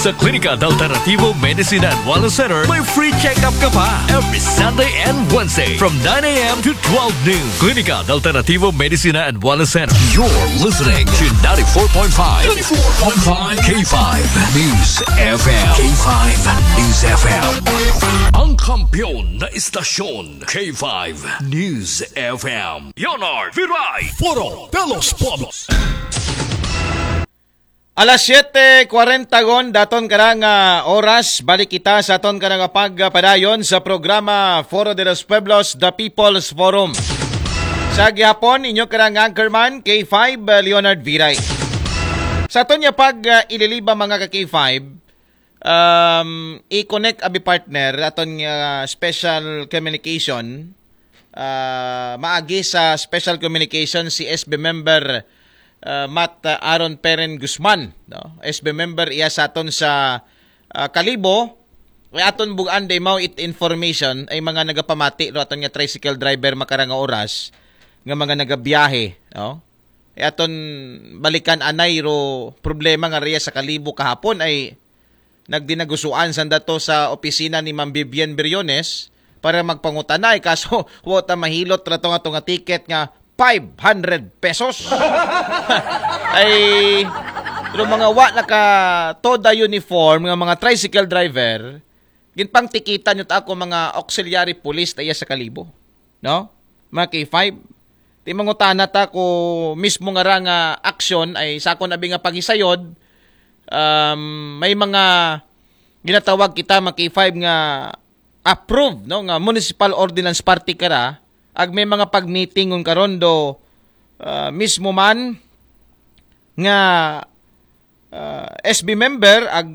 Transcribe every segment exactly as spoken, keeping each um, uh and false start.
Sa Klinika de Alternativo Medicina and Wellness Center, may free check-up ka pa every Sunday and Wednesday from nine a.m. to twelve noon. Klinika de Alternativo Medicina and Wellness Center. You're listening to ninety-four point five, ninety-four point five K five News F M. K five News F M. Ang kampiyon na istasyon, K five News F M. Leonard Viray, Foro de los Pueblos. Alas siyete kwarenta gon daton karang, ah, oras, balik kita sa aton karang pagpadayon sa programa Foro de los Pueblos, The People's Forum. Sa gihapon, inyo karang anchorman, K five, ah, Leonard Viray. Sa aton nga pag, ah, ililiba, mga ka K five, um, i-connect abi, partner, aton nga special communication, ah, maagi sa special communication si S B member, ah, Matt, ah, Aaron Peren Guzman, no? S B member iya sa aton sa, ah, Kalibo. Ay aton bugan day mao it information ay mga nagapamati ro aton nga tricycle driver makarang nga oras nga mga nagabiyahe, no? Ay aton balikan anay ro problema nga riya sa Kalibo kahapon ay nagdinagusuan sanda to sa opisina ni Ma'am Vivian Briones para magpangutanay, kaso wa ta mahilot ra to nga, to nga ticket nga five hundred pesos. Ay, pero mga wa naka TODA uniform nga mga tricycle driver, ginpangtikitan yun ako mga auxiliary police ta iya sa Kalibo, no? Mga K five. Ti mangutana ta ko mismo nga ra nga aksyon ay sakon abi nga paghisayod, um, may mga ginatawag kita, mga K five, nga approved, no, nga municipal ordinance party kara, ag may mga pag-meeting ngun karon do, ah, mismo man nga, ah, S B member, ag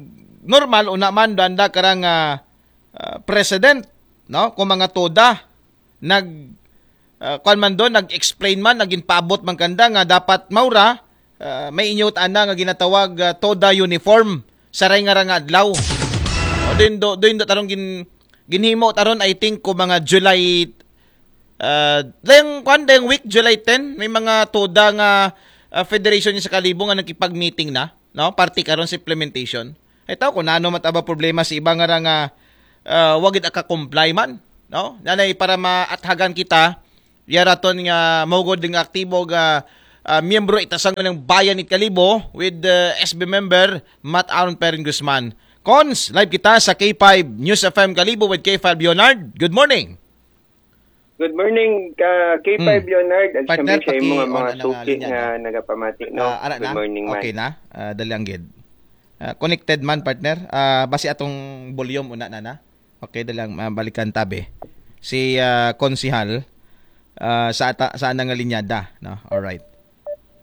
normal una man do anda karang, ah, ah, president, no, kung mga TODA nag, ah, kuwan man doon, nag-explain man, naging paabot man kanda nga dapat maura, ah, may inyot ana nga ginatawag, ah, TODA uniform sa ray nga ra nga adlaw. O, din do, din do tarong gin, ginhimo taron, I think, ko mga July, ah, dayang, kwan, dayang week, July ten, may mga TODA nga, ah, federation sa Kalibo nga nakipag-meeting na, no? Parte karon sa implementation. Ay tao ko nano man taba problema si iba nga ra nga, ah, wagid aka-comply man, no? Nanay para maathagan kita, yaraton nga mugod nga aktibo nga, ah, miyembro itasang ng bayan it Kalibo with, ah, S B member Matt Aaron Perrin Guzman. Cons, live kita sa K five News F M Kalibo with K five Leonard. Good morning. Good morning, ka K five Hmm. Leonard, at Partner, siyempre sa imo nga paki-on mga ang suki linya nga na. Nagapamati, no? Ah, ara Good na? Morning, man. Okay na? Ah, dali ang gid. Ah, connected man, partner. Ah, basi atong volume una na na. Okay, dali ang, ah, balikan tabi. Si, ah, Konsihal, ah, sa ata, sa anang linyada, no? All right.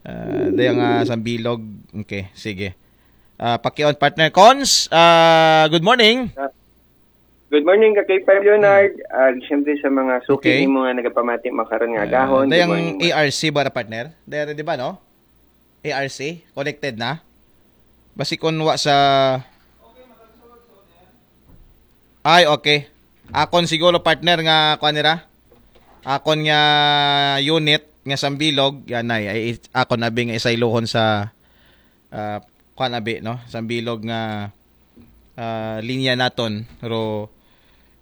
Ah, dali ang, ah, sambilog. Okay, sige. Ah, paki-on, partner. Cons, ah, good morning. Ah, Good morning, ka K five Leonard. Ah, siyempre sa mga suki Okay. nimo nga nagapamati makaron nga Ah, agahon. Good dayang morning, ma'am. A R C ba na, partner? Dayang, di ba, no? A R C, connected na? Basi kun wa sa Ay, okay. Akon siguro, partner, nga kuan nira. Akon nga unit nga sambilog, yan ay, ay akon abi nga isayluhon sa, ah, kuan abi, no? Sambilog nga, ah, linya naton. Pero,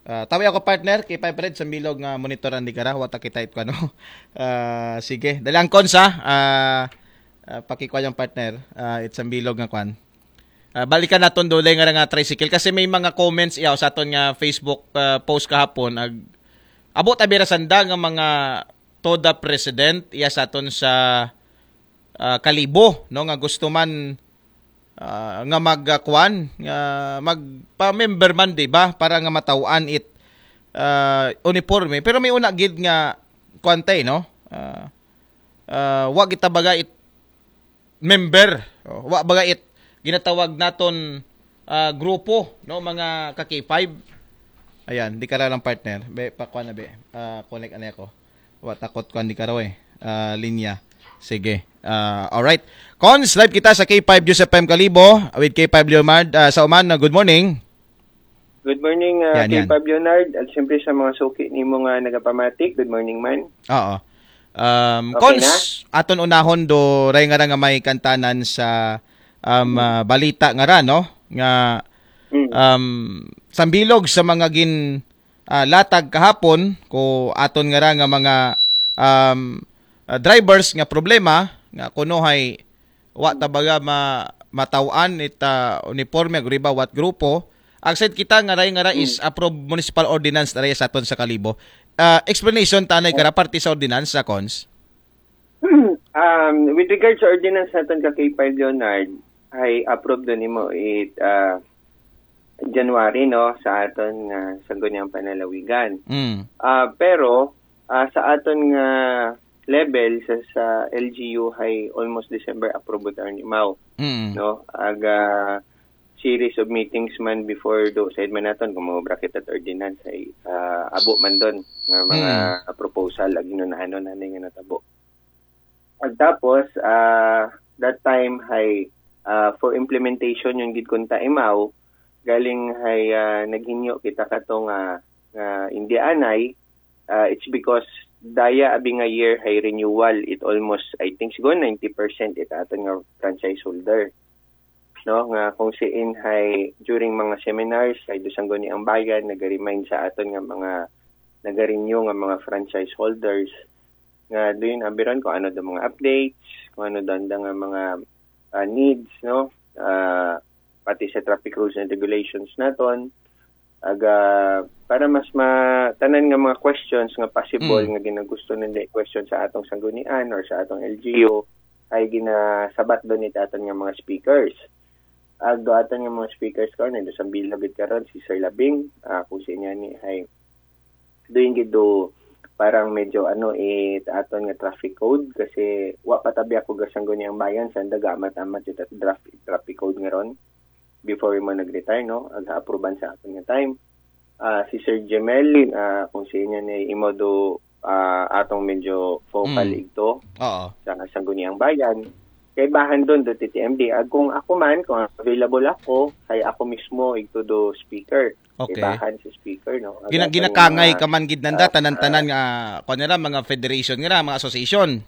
ah, tawi ako, partner, kay five red sambilog nga monitoran di kara, wa ta kita it kuan, no? Ah, sige, dali ang Cons, ah, ah, pakikuan yung partner, ah, it sambilog nga kuan. Ah, balikan naton dulay nga nga tricycle kasi may mga comments iyaw sa aton nga Facebook, ah, post kahapon. Ag, abot abira sanda nga mga TODA president iya sa aton sa, ah, Kalibo, no, nga gusto man, ah, nga mag, ah, kuan, nga magpa-member man, di ba, para nga mataw-an it, ah, uniforme. Pero may una gid nga kuan tay, no? Ah, ah, wa kita baga it member. O, wa baga it ginatawag naton, ah, grupo, no, mga ka K five. Ayan, di kara lang, partner. Be, pakuan na, be. Ah, connect anay ako. Wa, takot kuan di kara, eh. Ah, linya. Sige. Ah, alright. Cons, live kita sa K five News F M Kalibo with K five Leonard. Ah, sa uman, ah, good morning. Good morning, ah, Yan, yan. K five Leonard, at siyempre sa mga suki nimo nga nagapamati. Good morning, man. Oo. Um, Okay Cons, na? Aton unahon do ray nga ra nga may kantanan sa, um, Hmm. ah, balita nga ra, no? nga Mm. um, sambilog sa mga gin ah, latag kahapon ko aton nga ra nga mga um, ah, drivers nga problema nga kuno hay wa ta baga ma mataw-an it ah, uniforme agriba wat grupo. Agsayd kita nga ray nga ra is approved municipal ordinance na ray sa aton sa Kalibo. Ah, explanation tanay kara parte sa ordinance sa cons. Um, with regards sa ordinance naton ka K five Leonard, ay approved do nimo it ah, January, no, sa aton nga Sangguniang Panlalawigan. Mm. Ah, pero ah, sa aton nga level sa, sa L G U hay almost December approved ta ni mao, Mm. no? Aga series of meetings man before do side man naton kung mangobra kita at ordinance ay ah, abo man don nga mga proposal ag hinunanon ani nga natabo. Ag tapos ah, that time hay ah, for implementation yung gid kunta imaw galing hay ah, naghinyo kita kato nga nga indianay. Ah, it's because daya abi nga year hay renewal, it almost, I think, siguro ninety percent it aton nga franchise holder, no, nga kung siin hay during mga seminars hay do Sangguniang Bayan naga-remind sa aton nga mga naga-renew nga mga franchise holders nga do yun abi ron kung ano do mga updates, kung ano do anda nga mga ah, needs, no, ah, pati sa traffic rules and regulations naton. Aga para mas ma tanan nga mga questions nga possible nga ginagusto nanda i-question sa atong sanggunian or sa atong L G U ay ginasabat do ni aton nga mga speakers. Ag do aton nga mga speakers karon, ay do Sambilog gid karon si Sir Labing, ah, kung sa inyo ni ay doon gid do parang medyo ano it aton nga traffic code kasi wa pa tabi ako ga Sangguniang Bayan, sanda gaamat-amat it traffic traffic code nga ron before mo nag-retire, no, ag apruban sa aton nga time. Ah, si Sir Jemel, ah, kung sa inyo ni imo do ah, atong medyo focal Mm. igto Oo. sa Sangguniang Bayan. Kay bahan doon do T T M D. Ag kung ako man, kung available ako, kay ako mismo igto do speaker. Okay. Kay bahan si speaker, no? Ag Gina aton ginakangay nga, ka man gid nanda ah, tanan-tanan nga kuan nira mga federation nira mga association.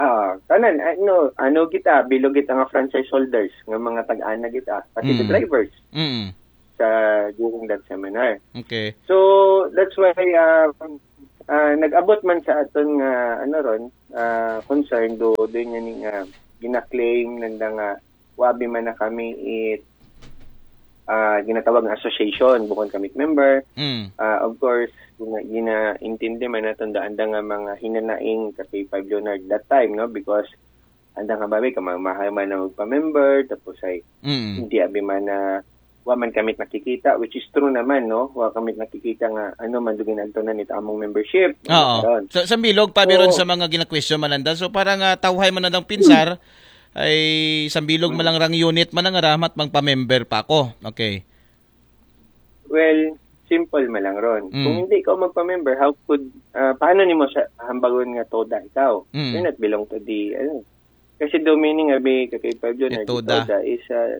Ah, tanan ano ano kita bilog kita nga franchise holders nga mga tag-ana kita pati the Mm. drivers Mm. sa during that seminar. Okay. So that's why uh, uh, nag-abot man sa aton nga ano ron uh, concern do do niya ni nga gina-claim nanda nga wabi man na kami it uh, ginatawag nga association bukod kami member. Mm. Uh, of course, gina, ginaintindi man naton da anda nga mga hinanaing ka K five Leonard that time, no, because anda nga babi ka mahal man na magpa-member tapos ay Mm. hindi abi man na wa man kami nakikita, which is true naman, no, wa kami nakikita nga ano man do ginagtunan it among membership. Oo. Karon. Sa, sa Sambilog pa biron Oo. Sa mga gina-question man nanda. So para nga tawhay man nandang pinsar ay Sambilog man lang rang unit man nga ramat magpa-member pa ako. Okay. Well, simple man lang ron. Mm. Kung hindi ka magpa-member, how could uh, paano nimo sa hambagon nga toda ikaw? Mm. You're not belong to the ano. Kasi do meaning abi ka K five Leonard, Itoda. Toda is a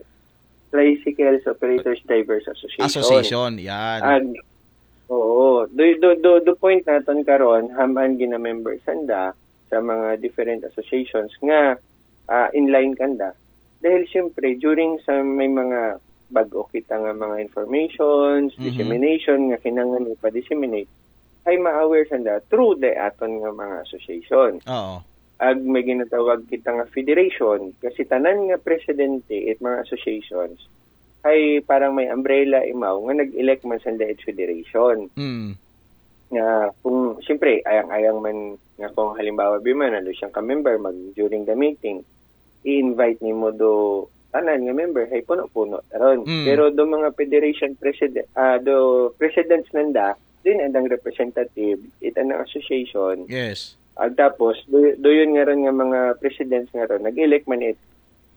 Tricycles Operators Drivers Association. Association, yan. Ag, oo. Do, do, do, do point naton karon haman gina-member sanda sa mga different associations nga ah, in line kanda. Dahil siyempre, during sa may mga bag-o kita nga mga informations, Mhm. dissemination nga kinahanglan ipa-disseminate, ay ma-aware sanda through the aton nga mga association. Oo. Ag may ginatawag kita nga federation, kasi tanan nga presidente it mga associations ay parang may umbrella imaw nga nag-elect man sanda it federation. Mm. Nga kung siyempre ayang-ayang man nga kung halimbawa bi man ano siyang ka-member mag during the meeting i-invite nimo do tanan nga member hay puno-puno ron. Mm. Pero do mga federation president ah do presidents nanda din andang representative it anang association. Yes. Ag tapos do, do yun nga ron nga mga presidents nga ron nag-elect man it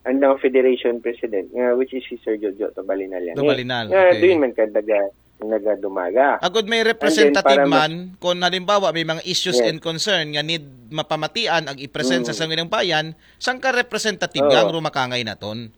andang federation president nga which is si Sir Jojo Tobalinal yan. Tobalinal, Nga okay. Do yun man kadaga nagadumaga. Agud may And then, representative para mas- man kung halimbawa may mga issues Yes. And concern nga need mapamatian ag i-present sa Mm. Sangguniang Bayan, sangka representative Oo. Nga ang rumakangay naton.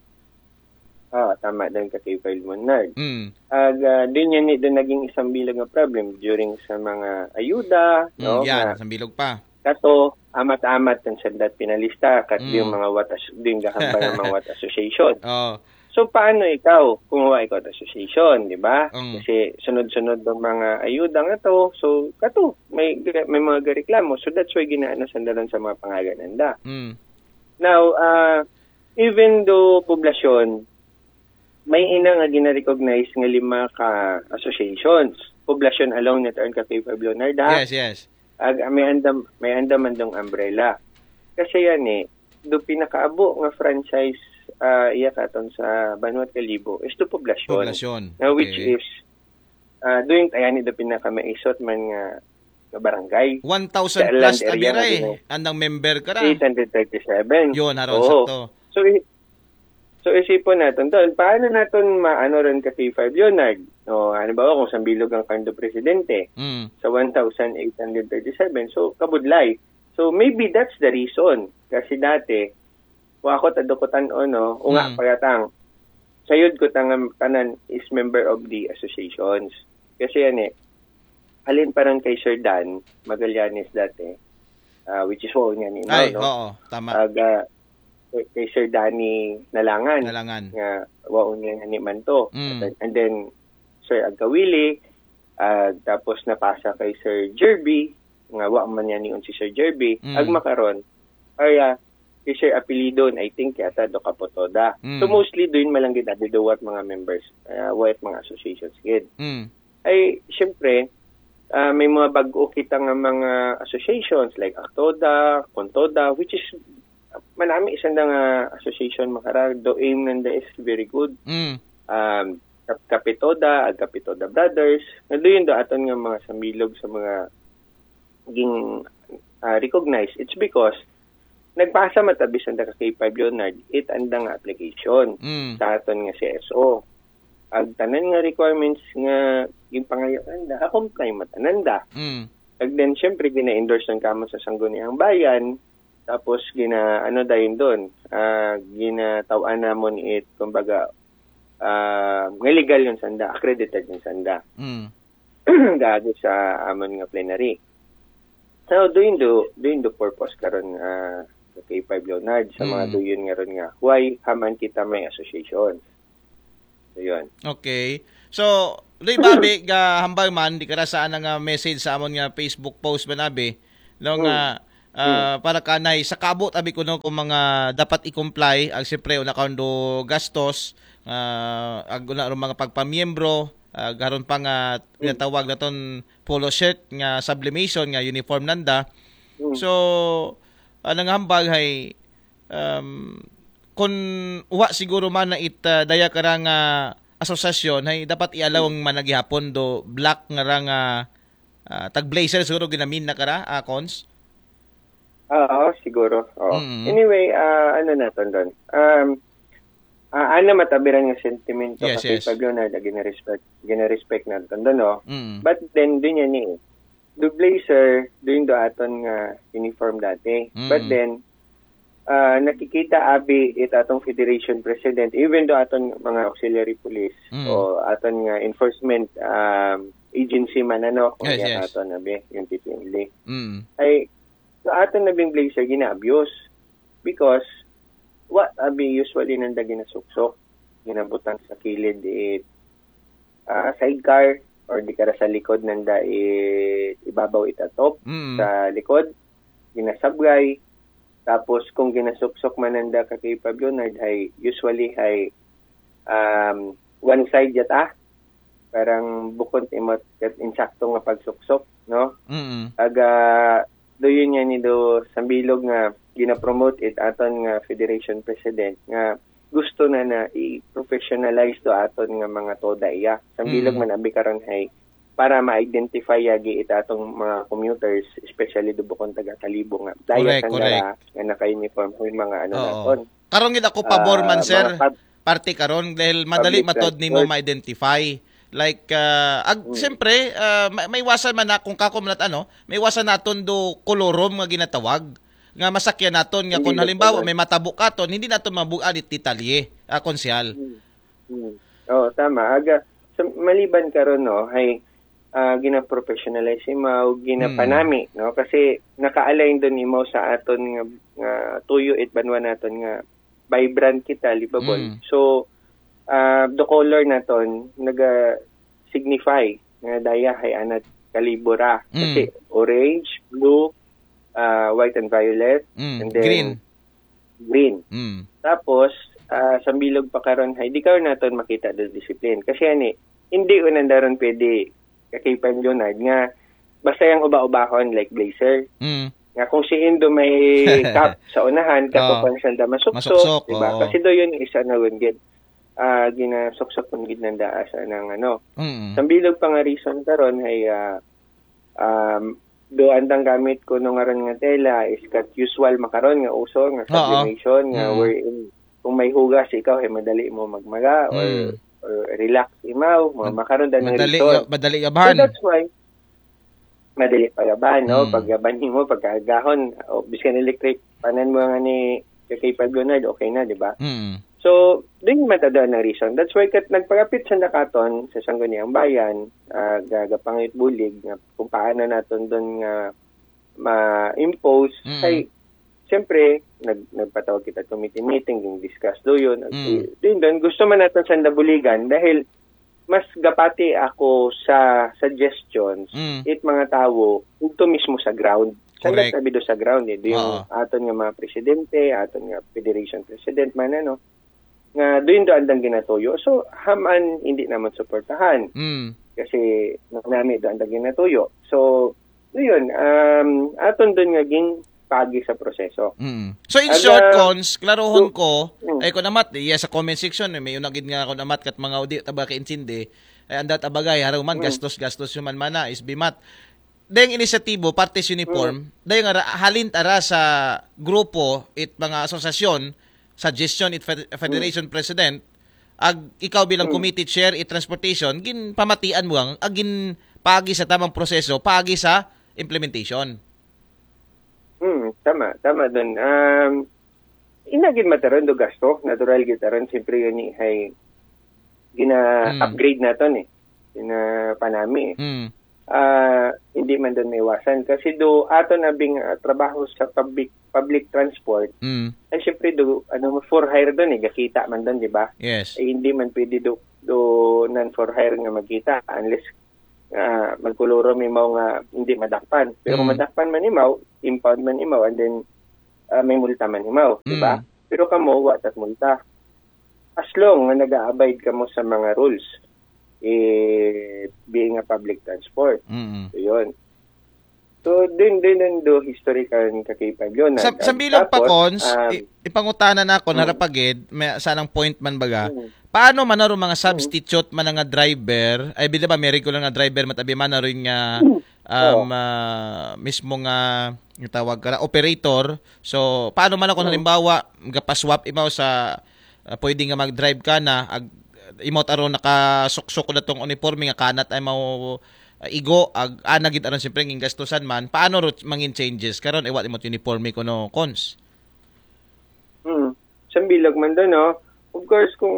Ah, tama din ka kay File Monard. Mm. Ag ah, din yan ni doon naging isang bilang nga problem during sa mga ayuda, Mm, no? yan, Nga, Sambilog pa. Kato, amat-amat ang sandat pinalista kat Mm. Yung mga what as, din gahambal ng mga what association. Oh. So, paano ikaw kung wa ikaw at association, di ba? Mm. Kasi sunod-sunod ng mga ayuda nga to. So, kato, may, may mga gareklamo. So, that's why ginaano sandalan sa mga pangalan nanda. Mm. Now, ah, even though poblasyon, may ina nga gina-recognize nga lima ka associations. Poblasyon alone net aron ka K five Leonard, ha? Yes, yes. Ag, may andam, may andam man dong umbrella. Kasi yan eh, do pinakaabo nga franchise ah, iya katon sa Banwa Kalibo is to poblasyon. Poblasyon. Na which Okay. is, ah, doon tayo ni do pinakamaisot man nga, nga barangay. One thousand Sa plus land area abira nga eh. gina- Andang member ka ra. Eight hundred thirty-seven. Yun, haron Oo. sakto. So, i- so isipon natin doon, paano natin maano rin ka K five Leonard? No, ano ba kung sambilog ang kando presidente Mm. sa one thousand eight hundred thirty-seven? So, kabudlay. So, maybe that's the reason. Kasi dati, wa ako tadukutan o no, unga Mm. pagatang. Sayod ko tangan tanan is member of the associations. Kasi yan eh, halin pa rin kay Sir Dan Magallanes dati, ah, which is wa niya ni Ay, no? Oo, tama. Ag, ah, kay Sir Danny Nalangan, Nalangan. Nga wa niya ni man to. Mm. And, and then, Sir Agkawili, ah, tapos napasa kay Sir Jerby, nga wa man niya niyon si Sir Jerby, Mm. ag makaron, ay, ah, si Sir Apelidon, I think, yata, do Capotoda. Mm. So, mostly, doon malanggit na duwat mga members, ah, wa mga associations, gid. Mm. Ay, syempre, ah, may mga bago kita nga mga associations like Actoda, Contoda, which is manami isang nga association makara, do aim nanda is very good. Mm. Um, Kap- Kapitoda, ag Kapitoda Brothers, nga doon do aton nga mga sambilog sa mga ging ah, recognized. It's because nagpasa matabi sanda ka K five Leonard, it andang application Mm. sa aton nga C S O. Ag tanan nga requirements nga ginpangayo nanda, ha-comply man tanan da. Mm. Ag then, syempre, gina-endorse ng kamo sa Sangguniang Bayan, tapos gina, ano dayon doon, ah, ginatawaan namon it, kumbaga, ah, nga legal yung sanda, accredited yung sanda. Mm. Gago sa amon nga plenary. So, doon do, doon do purpose karon ah, sa K five Leonard, sa mga Mm. doon nga ron nga, why haman kita may association? So, yun. Okay. So, Ray Bobby, ga hambal man, di ka ra sa ana nga message sa amon nga Facebook post man abi, no, nga, ah, para kanay, sa kaabot abi kuno kung mga dapat i-comply, ag siyempre, una karon do gastos, ah, ag una ron mga pagpamiyembro, ag haron pa nga ginatawag naton polo shirt nga sublimation nga uniform nanda. Mm. So, ana nga hambal hay, um, kung wa siguro man na it, ah, daya ka ra nga asosasyon, hay dapat i-allow ang managihapon do black nga ra nga, ah, tag blazer siguro ginamin na ka ra, ah, Cons? Oo, siguro. Oo. Mm. Anyway, ah, ano naton doon? Um, ah, ana matabiran nga sentimento Yes, kasi yes. Pablo na, na gina-respect, gina-respect naton doon, no? Mm. But then, doon yan eh. Do blazer, doon do aton nga uniform dati. Mm. But then, ah, nakikita abi it atong federation president, even do aton mga auxiliary police Mm. o aton nga enforcement um, agency man ano, kung Yes, iya yes. aton abi, yung T P L A. Mm. Ay, so aton nabing blazer gina-abuse because wa abi usually nanda ginasuksok, ginabutang sa kilid it ah, sidecar or di ka ra sa likod nanda it ibabaw it atop Mm. sa likod, ginasabgay. Tapos kung ginasuksok man nanda ka kay Pablo Nard, hay usually hay um, one side yata. Parang bukon imot kat insakto nga pagsuksok, no? Mm. Aga, do yun nga ni do sambilog nga ginapromote it aton nga federation president nga gusto na na i-professionalize do aton nga mga toda iya. Sambilog Mm. man abi karon hay para ma-identify yagi it atong mga commuters, especially do bukon taga Kalibo nga. Daya Correct, sang correct. nga, nga naka-uniform ko yung mga ano Oo. naton. Karon gid ako pabor man, Ah, sir. mga pab- Parte karon dahil madali Public matod nimo transport. ma-identify. Like, ah, ag, Mm. siyempre, ah, ma- may iwasan man na, kung kako man at ano, may iwasan naton do colorum nga ginatawag. Nga masakyan naton nga Hindi kung na halimbawa pala. may matabo katon, hindi naton mabuan it detalye, ah, konsehal. Hmm. Hmm. Oo, tama. Aga, sa, maliban karon no, hay ah, gina-professionalize imaw, ginapanami, no? Kasi naka-align doon imaw sa aton nga, nga tuyo it banwa naton nga vibrant kita, libabon. Mm. So, the color naton naga-signify nga daya hay anat kalibo ra. Kasi Mm. orange, blue, ah, white and violet, Mm, and then green. green. Mm. Tapos, ah, sambilog pa karon hay, di karon naton makita do discipline. Kasi ani, hindi ko nandaron pwede ka K five Leonard nga basta yung uba-ubahon like blazer. Mm. Nga kung si Indo may cap sa unahan, Oo. kapag sanda masuksok, Masuksok, diba? Oo. Kasi do yun isa na gun gid. Ah, ginasuksok gun gid nanda sa nang ano. Mm. Sambilog pa nga reason karon hay, ah, um, do andang gamit ko nung aron nga tela is kat usual makaron nga uso nga Oo. sublimation nga Mm. wherein kung may hugas ikaw ay madali mo magmaga or, Mm. or relax imaw, mga Mad- makaron da nga Madali, reason. Madali So gabahan. That's why madali pagabahan, no? Mm. Paggaban mo, pagkaagahon, o biskan electric, panan mo nga ni K five Leonard, okay na, di ba? Mm. So, doon man tada ang reason. That's why kat nagpagapit sa nakaton sa Sangguniang Bayan, ah, ga- gapangit bulig nga kung paano naton doon nga ma-impose Mm. ay siyempre nag nagpatawag kita committee meeting, yung discuss do yun. Mm. Din doon gusto man natin sa nabuligan dahil mas gapati ako sa suggestions Mm. it mga tawo ito mismo sa ground. Sa Correct. Sabi do sa ground, eh. Do yung Oo. aton nga mga presidente, aton nga federation president man, ano, nga doon do andang ginatuyo. So, haman hindi naman suportahan. Mm. Kasi nami do andang ginatuyo. So, yun, um, aton doon nga gin pagi sa proseso. Mm. So in Ang, short, ah, Cons, klaruhon so- ko, Mm. ay ko namat, iya sa comment section, eh, may unagid nga ako namat kat mga udi, taba ka intindi, ay andat abagay, harong man, Mm. gastos, gastos yung man mana, is bimat. Dayang inisyatibo, partes uniform, dayang ara, halin ara sa grupo, it mga asosasyon, suggestion, it fed- federation president, ag ikaw bilang Mm. committee chair, it transportation, gin pamatian mo ang, ag gin pagi sa tamang proseso, pagi sa implementation. Hmm, tama, tama doon. Um, inagin mataron do gasto, natural gitaron, siyempre yun ni hay gina-upgrade naton eh. Gina panami eh. Mm. Ah, hindi man doon maiwasan kasi do aton abing ah, trabaho sa public public transport Mm. ay siyempre do ano for hire doon eh, gakita man doon, di ba? Yes. Eh, hindi man pwede do do non for hire nga magkita unless ah, magkuluro may mga nga hindi madakpan. Pero kung Mm. madakpan man imaw, impound man imaw, and then ah, may multa man imaw, di ba? Mm. Pero kamo, wa tat multa. As long nga nag-abide kamo sa mga rules, eh, being a public transport. Mm. So, yun. So, din, din, din do historical ka K five yun. Sa, Nag- sa bilog pa, tapos, Cons, um, i- ipangutan ako, Mm. narapagid, may, sanang point man baga. Mm. Paano man aro mga substitute man nga driver? Ay, bida ba, may regular nga driver, matabi man aro nga um, Oo. ah, mismo nga yung tawag ka na, operator. So, paano man ako Mm. halimbawa, gapaswap imaw sa ah, pwede nga mag-drive ka na, ag, imot aro nakasuksok ko datong uniforme nga kanat ay mau ah, igo, ag ana gid aron siyempre ngin gastusan man. Paano ro mangin changes karon? Iwat imot uniforme ko no, Cons. Hmm. Sa bilog man doon, no? Of course, kung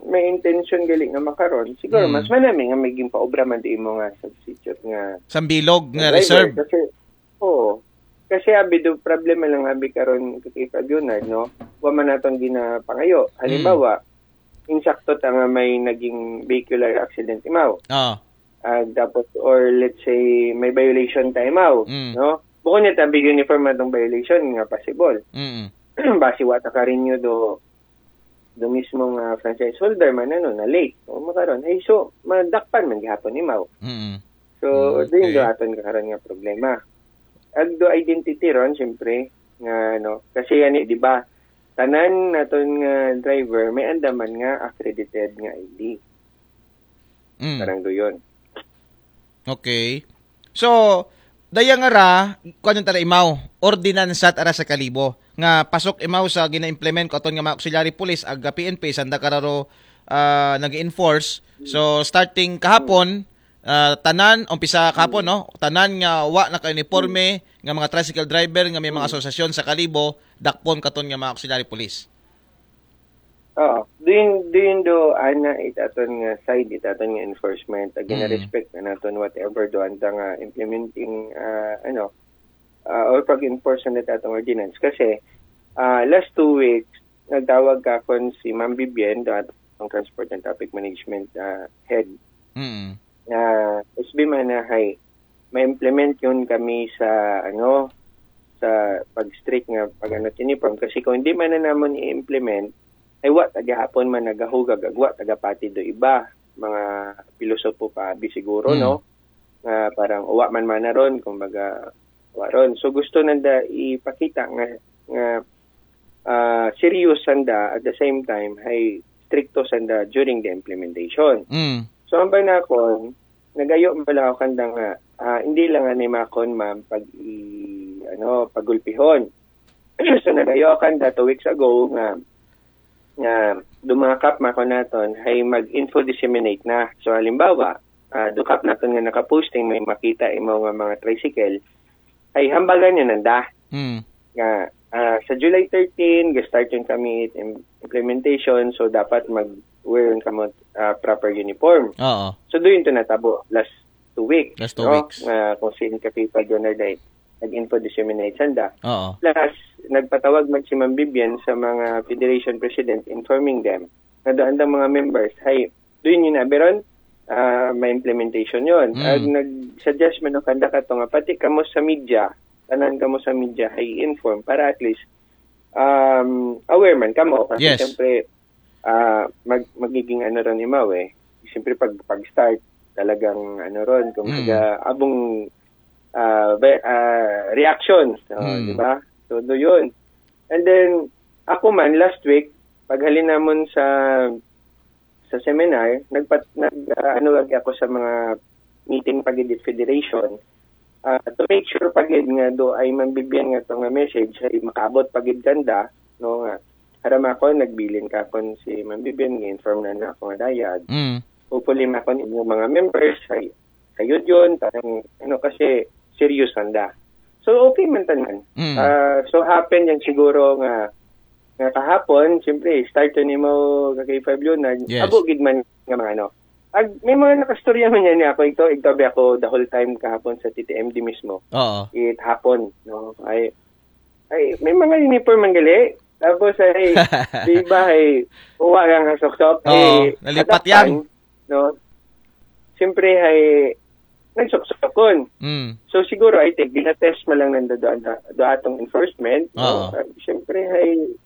may intention gali nga makaron, siguro Mm. mas manami nga may gimpaobra man di mo nga substitute nga Sa bilog nga driver. reserve. Kasi, oo. Kasi abi do problema lang abi karon kay Pag Leonard, no? Wa man naton ginapangayo. Halimbawa, insakto ta nga may naging vehicular accident imaw. Ah. Ah, tapos, or let's say, may violation ta imaw, Mm. no? Bukod niya tabi uniform atong violation nga possible. Mm. Basi wa ta ka-renew do do mismo nga franchise holder man ano na late o makaron ay so madakpan man gihapon imaw. Mm. So Mm, din do okay. Aton ka karon nga problema. Ag do identity ron siyempre nga ano kasi yani di ba tanan naton nga driver may andaman nga accredited nga I D. Mm. Parang do yun. Okay. So, daya nga ra, kuan yung tara imaw, ordinansa ara sa Kalibo nga pasok imaw sa gina-implement ko aton nga mga auxiliary police ag P N P sanda kararo ah, nag-enforce. So, starting kahapon, ah, tanan, umpisa kahapon, no? Tanan nga wa naka-uniforme nga mga tricycle driver nga may mga asosasyon sa Kalibo, dakpon katon nga mga auxiliary police. Oo. Din din do ana it aton nga side it aton nga enforcement ag Mm. respect na naton whatever do anta nga implementing ah, ano ah, or pag-enforce na atong ordinance kasi ah, last two weeks nagtawag ka kon si Ma'am Vivian do at atong transport and traffic management ah, head Mm. nga S B man na hay ma-implement yun kami sa ano sa pag-strict nga pag-ano uniform, kasi kung hindi man na namon i-implement ay wa ta gihapon man nagahugag ag wa ta gapati do iba mga pilosopo pa abi siguro, Mm. no, nga parang wa man man na ron, kumbaga wa ron. So gusto nanda ipakita nga nga ah, serious sanda, at the same time hay stricto sanda during the implementation. Mm. So ang banakon, nagayo man lang ako kanda nga ah, hindi lang ani makon ma'am pag i, ano, pagulpihon. So nagayo ako kanda two weeks ago nga nga dumakap makon naton hay mag-info disseminate na. So halimbawa, ah, dukap naton nga nakaposting, may makita imo nga mga tricycle, ay hambagan yun nanda Mm. nga ah, sa July thirteen ga-start yun kami im- implementation, so dapat mag-wear yun kamo ah, proper uniform. Oo. So doon to natabo last two weeks, Last two no? weeks. Nga kung saan ka people doon na dahil nag-info disseminate sanda. Oo. Plus, nagpatawag man si Ma'am Vivian sa mga federation president informing them na doon ang mga members, hay, doon yun na, Beron, ah, may implementation yun. Mm. Ag nag-suggest man ang kanda ka to nga, pati kamo sa media, tanan kamo sa media, hay inform para at least um, aware man kamo. Kasi Yes. siyempre, ah, mag, magiging ano ron imaw eh. Siyempre pag, pag-start, talagang ano ron, kung Mm. abong ah, be- ah, reaction, no, Mm. di ba? So, do yun. And then, ako man, last week, paghalin namon sa sa seminar, nagpat, nag, ah, ano lagi ako sa mga meeting pagid with federation ah, to make sure pagid nga do ay Ma'am Vivian nga to nga message ay makaabot pagid kanda, no, nga haram ako, nagbilin ka kon si Ma'am Vivian, nga inform na na ako nga dayag. Mm. Hopefully makon inyong mga members ay ayun yun, parang ano, kasi serious sanda. So okay man tanan. Mm. Ah, so happen yan siguro nga nga kahapon, siyempre, start to nimo ka K five Leonard, Yes. Abo gid man nga mga ano. Ag, may mga nakastorya man yan niya ako, ito, ito, ako the whole time kahapon sa T T M D mismo. Oo. It hapon, no? Ay, ay, may mga uniform man gali. Tapos ay, di ba ay, uwa lang ang soksok. Oo, Eh, nalipat at that yan. time, no? Siyempre ay, nagsoksokon. Mm. So siguro, I think, ginatest mo lang ng do, do, do atong enforcement. Oo. No? Uh, Siyempre ay,